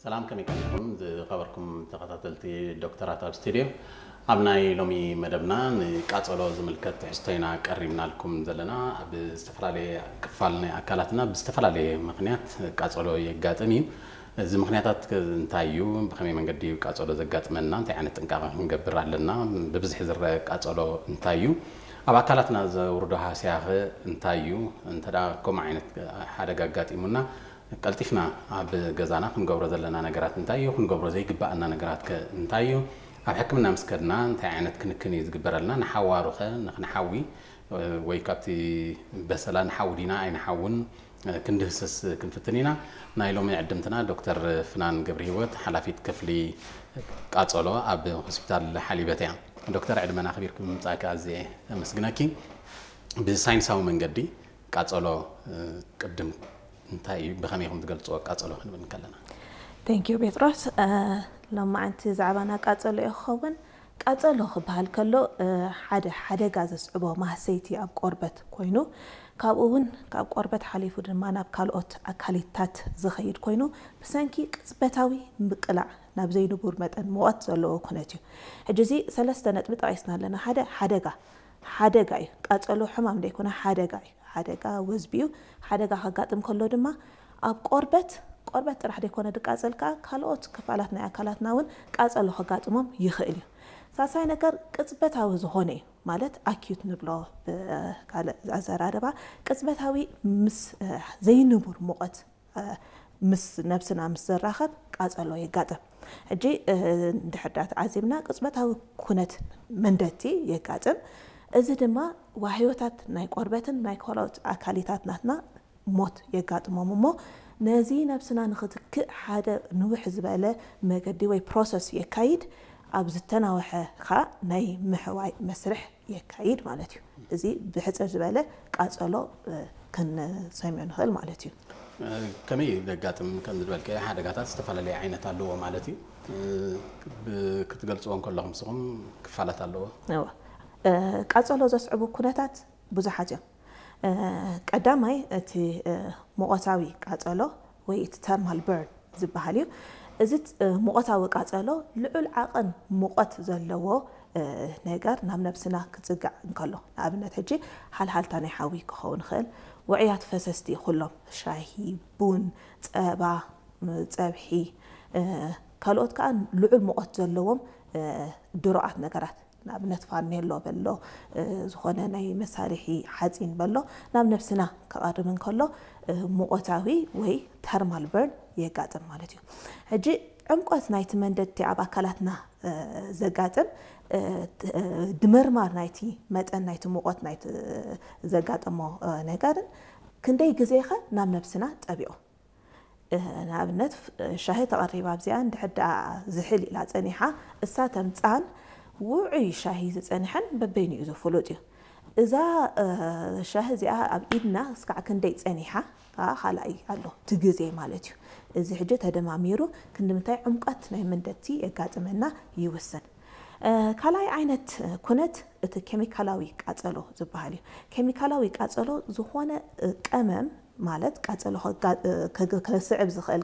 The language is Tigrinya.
ሰላም፣ ከመይ ቀኒኹም ዝኸበርኩም ተኸታተልቲ ዶክተራት ኣብ ስቱድዮ? ኣብ ናይ ሎሚ መደብና ንቃጸሎ ዝምልከት ትሕዝቶ ኢና ቀሪብናልኩም ዘለና። ኣብ ዝተፈላለየ ክፋል ናይ ኣካላትና ብዝተፈላለየ ምኽንያት ቃጸሎ የጋጥም እዩ። እዚ ምኽንያታት ከ እንታይ እዩ? ብኸመይ መንገዲ እዩ ቃጸሎ ዘጋጥመና? እንታይ ዓይነት ጥንቃቐ ክንገብር ኣለና? ብብዝሒ ዝረአ ቃጸሎ እንታይ እዩ? ኣብ ኣካላትና ዘውርዶ ሃስያኸ እንታይ እዩ? እንተ ደኣ ከምኡ ዓይነት ሓደጋ ኣጋጢሙና ቀልጢፍና ኣብ ገዛና ክንገብሮ ዘለና ነገራት እንታይ እዩ? ክንገብሮ ዘይግባኣና ነገራት ከ እንታይ እዩ? ኣብ ሕክምና ምስ ከድና እንታይ ዓይነት ክንክን እዩ ዝግበረልና? ንሓዋሩ ኸ ንኽንሓዊ ወይ ካብቲ በሰላ ንሓዊ ዲና ኣይንሓውን ክንድህስስ ክንፍትን ኢና። ናይ ሎሚ ዕድምትና ዶክተር ፍናን ገብረሂወት ሓላፊት ክፍሊ ቃጸሎ ኣብ ሆስፒታል ሓሊበት እያ። ዶክተር ዕድመን ኣኽቢርኪ ብምምጻእኪ ኣዝየ ኣመስግነኪ። ብሳይንሳዊ መንገዲ ቃጸሎ ቅድም እንታይ እዩ፣ ብኸመይ ኢኹም ትገልጽዎ ቃጸሎ ክንብል እንከለና? Thank you ጴጥሮስ። ሎማዓንቲ ዛዕባና ቃጸሎ እዩ ክኸውን። ቃጸሎ ክበሃል ከሎ ሓደ ሓደጋ ዘስዕቦ ማህሰይቲ ኣብ ቆርበት ኮይኑ፣ ካብኡ እውን ካብ ቆርበት ሓሊፉ ድማ ናብ ካልኦት ኣካሊታት ዝኸይድ ኮይኑ፣ ብሰንኪ ቅጽበታዊ ምቅላዕ ናብ ዘይንቡር መጠን ሙቐት ዘለዎ ኩነት እዩ። ሕጂ እዚ ሰለስተ ነጥቢ ጠቒስና ኣለና። ሓደ ሓደጋ ሓደጋ እዩ። ቃጸሎ ሕማም ዘይኮነ ሓደጋ እዩ። ሓደጋ ወዝቢ እዩ። ሓደጋ ከጋጥም ከሎ ድማ ኣብ ቆርበት ቆርበት ጥራሕ ዘይኮነ ድቃጸል ከኣ ካልኦት ክፋላት ናይ ኣካላትና እውን ቃጸሎ ከጋጥሞም ይኽእል እዩ። ሳልሳይ ነገር ቅጽበታዊ ዝኾነ እዩ። ማለት ኣኪዩት ንብሎ ብካልእ ኣዘራርባ ቅጽበታዊ ምስ ዘይንቡር ሙቐት ምስ ነብስና ምስ ዘራኸብ ቃጸሎ የጋጥም። ሕጂ እንድሕር ዳ ተዓዚብና ቅጽበታዊ ኩነት መንደቲ የጋጥም። እዚ ድማ ዋህዮታት ናይ ቆርበትን ናይ ካልኦት ኣካሊታት ናትና ሞት የጋጥሞም እሞ ነዚ ነብስና ንኽትክእ ሓደ ንውሕ ዝበለ መገዲ ወይ ፕሮሰስ የካይድ። ኣብ ዝተናውሐ ኸኣ ናይ ምሕዋይ መስርሕ የካይድ ማለት እዩ። እዚ ብሕጽር ዝበለ ቃጸሎ ክንሰምዮ ንኽእል ማለት እዩ። ከመይ እዩ ዘጋጥም? ከም ዝበልከ ሓደጋታት ዝተፈላለየ ዓይነት ኣለዎ ማለት እዩ። ክትገልጽዎ እንከለኹም ንስኹም ክፋላት ኣለዎ። ቃጸሎ ዘስዕቡ ኩነታት ብዙሓት እዮም። ቀዳማይ እቲ ሙቐታዊ ቃጸሎ ወይ እቲ ተርማል በርን ዝበሃል እዩ። እዚ ሙቐታዊ ቃጸሎ ልዑል ዓቐን ሙቐት ዘለዎ ነገር ናብ ነብስና ክጽጋዕ እንከሎ፣ ንኣብነት ሕጂ ሓልሓልታ ናይ ሓዊ ክኸውን ይኽእል፣ ውዑያት ፈሰስቲ ኩሎም ሻሂ፣ ቡን፣ ጸባ፣ ጸብሒ፣ ካልኦት ከዓ ልዑል ሙቐት ዘለዎም ድሩዓት ነገራት ንኣብነት ፋርኔሎ በሎ ዝኾነ ናይ መሳርሒ ሓፂን በሎ ናብ ነብስና ክቐርብ እንከሎ ሙቐታዊ ወይ ተርማል በርን የጋጥም ማለት እዩ። ሕጂ ዕምቆት ናይቲ መንደድቲ ኣብ ኣካላትና ዘጋጥም ድምርማር ናይቲ መጠን ናይቲ ሙቐት ናይቲ ዘጋጠሞ ነገርን ክንደይ ግዜኸ ናብ ነብስና ጠቢቑ ንኣብነት ሻሂ ተቐሪባ ኣብዚኣ እንድሕር ደኣ ዝሕል ኢላ ጸኒሓ እሳ ተምጻን ውዑይ ሻሂ ዝጸንሐን በበይኑ እዩ ዝፍሉጥ እዩ። እዛ ሻሂ እዚኣ ኣብ ኢድና እስካዕ ክንደይ ጸኒሓ ከዓ ካልኣይ ኣሎ እቲ ግዜ ማለት እዩ። እዚ ሕጂ ተደማሚሩ ክንዲ ምንታይ ዕምቀት ናይ መንደቲ የጋጥመና ይውስን። ካልኣይ ዓይነት ኩነት እቲ ኬሚካላዊ ቃጸሎ ዝበሃል እዩ። ኬሚካላዊ ቃጸሎ ዝኾነ ቀመም ማለት ቃጸሎ ከስዕብ ዝኽእል